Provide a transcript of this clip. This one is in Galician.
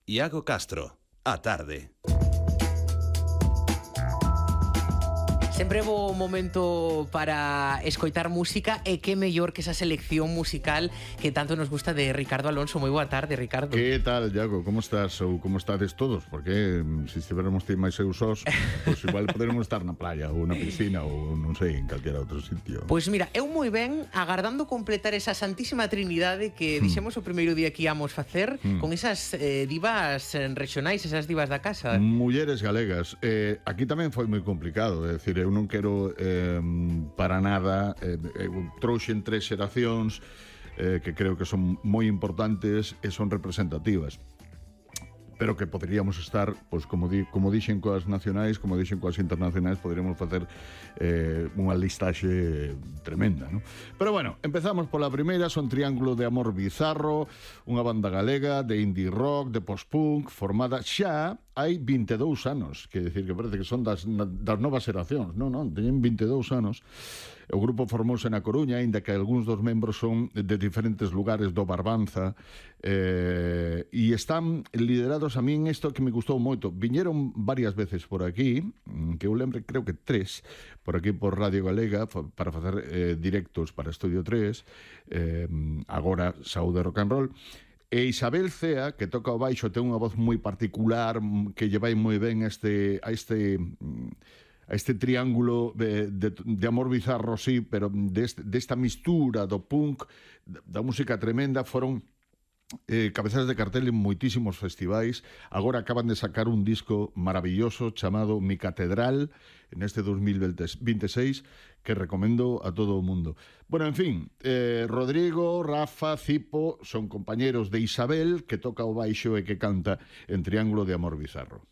Iago Castro, a tarde. Sempre é bo momento para escoitar música e que mellor que esa selección musical que tanto nos gusta de Ricardo Alonso. Moi boa tarde, Ricardo. Que tal, Iago? Como estás? Ou como estades todos? Porque se estiveramos ti máis eu sós, pois igual poderemos estar na playa ou na piscina ou non sei, en calquera outro sitio. Pois mira, eu moi ben agardando completar esa santísima trinidade que dixemos o primeiro día que íamos facer con esas divas regionais, esas divas da casa. Mulleres galegas. Aquí tamén foi moi complicado, é dicir, eu non quero para nada, eu trouxen 3 xeracións que creo que son moi importantes e son representativas, pero que poderíamos estar, pois como dixen coas nacionais, como dixen coas internacionais, poderíamos facer unha listaxe tremenda, non? Pero bueno, empezamos pola primeira. Son Triángulo de Amor Bizarro, unha banda galega de indie rock, de post-punk, formada xa hai 22 anos, que decir que parece que son das novas xeracións. Non, teñen 22 anos. O grupo formouse na Coruña, aínda que algúns dos membros son de diferentes lugares do Barbanza, e están liderados, a min isto que me gustou moito. Viñeron varias veces por aquí, que eu lembre, creo que 3, por aquí por Radio Galega, para facer directos para Estudio 3, agora Saúde Rock and Roll. E Isabel Cea, que toca o baixo, ten unha voz moi particular, que lle vai moi ben a este triángulo de amor bizarro, sí, pero desta mistura do punk, da música tremenda. Foron cabezas de cartel en moitísimos festivais. Agora acaban de sacar un disco maravilloso chamado Mi Catedral neste 2026, que recomendo a todo o mundo. Bueno, en fin, Rodrigo, Rafa, Cipo son compañeros de Isabel, que toca o baixo e que canta en Triángulo de Amor Bizarro.